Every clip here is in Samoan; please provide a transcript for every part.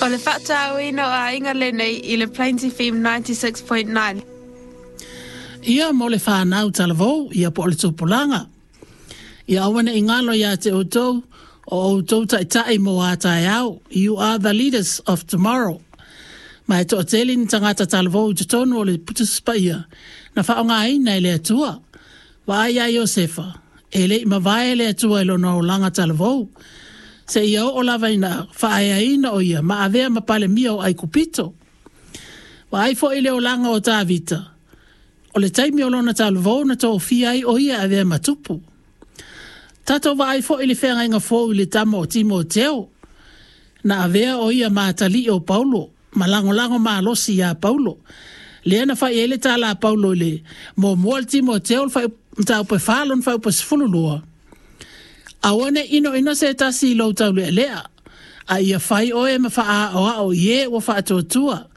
O le faatauaina o aiga lenei i le Plains FM 96.9. Ia mo le fanau talavou, ia po o le tupulaga. Ia aua ne i galo ia te outou, o outou taitai mo a taeao. You are the leaders of tomorrow. Ma e toatele ni tagata talavou i totonu o le Tusi Paia na faaaogaina e le Atua. Vaai ia Iosefa, e le i mavae le Atua i lona olaga talavou, seia oo lava ina faaeaina o ia ma avea ma Palemia o Aikupito. Vaai foi i le olaga o Tavita, o le taimi o lona talavou na tofia ai o ia e avea ma tupu. Tatou vaai foi i le feagaiga fou i le tama o Timoteo, na avea o ia ma atalii o Paulo, ma lagolago malosi ia Paulo. Lea na fai ai le tala a Paulo i le muamua le Timoteo le mataupu e 4 lona fuaiupu 12. Aua ne i inoino se tasi i lou taulealea, a ia fai oe ma faaaoao i e ua faatuatua,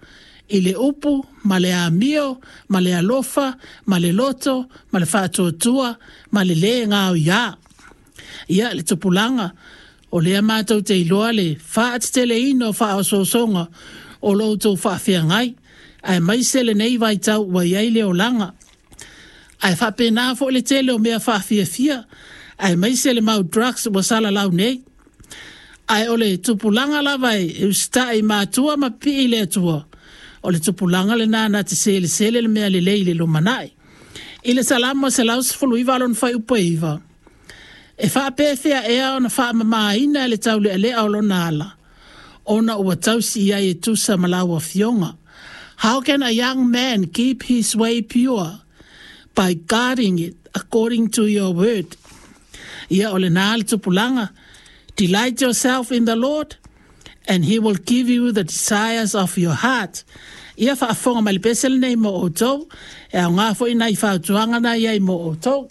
i le upu ma le amio ma le alofa ma le loto ma le faatuatua ma le lē gaoiā. Ia, le tupulaga, o lea matou te iloa le faateteleina o faaosoosoga o lo outou faafeagai, aemaise lenei vaitau ua i ai le olaga. Ae faapena foi le tele o mea faafiafia, aemaise le mau drugs ua salalau nei. Ae o le tupulaga lava e usitai i matua ma pipii i le Atua, o le tupulaga lena na te selesele le mea lelei i le lumanai. I le Salamo 119 lona fuaiupu e 9, e faapefea ea ona faamamaina e le taulealea o lona ala, ona ua tausi i ai e tusa ma lau afioga. How can a young man keep his way pure? By guarding it according to your word. Ia, o lena le tupulaga. Delight yourself in the Lord, and he will give you the desires of your heart. Ia faafofoga mai le pese lenei mo outou, e aoga foi nai fautuaga na i ai mo outou.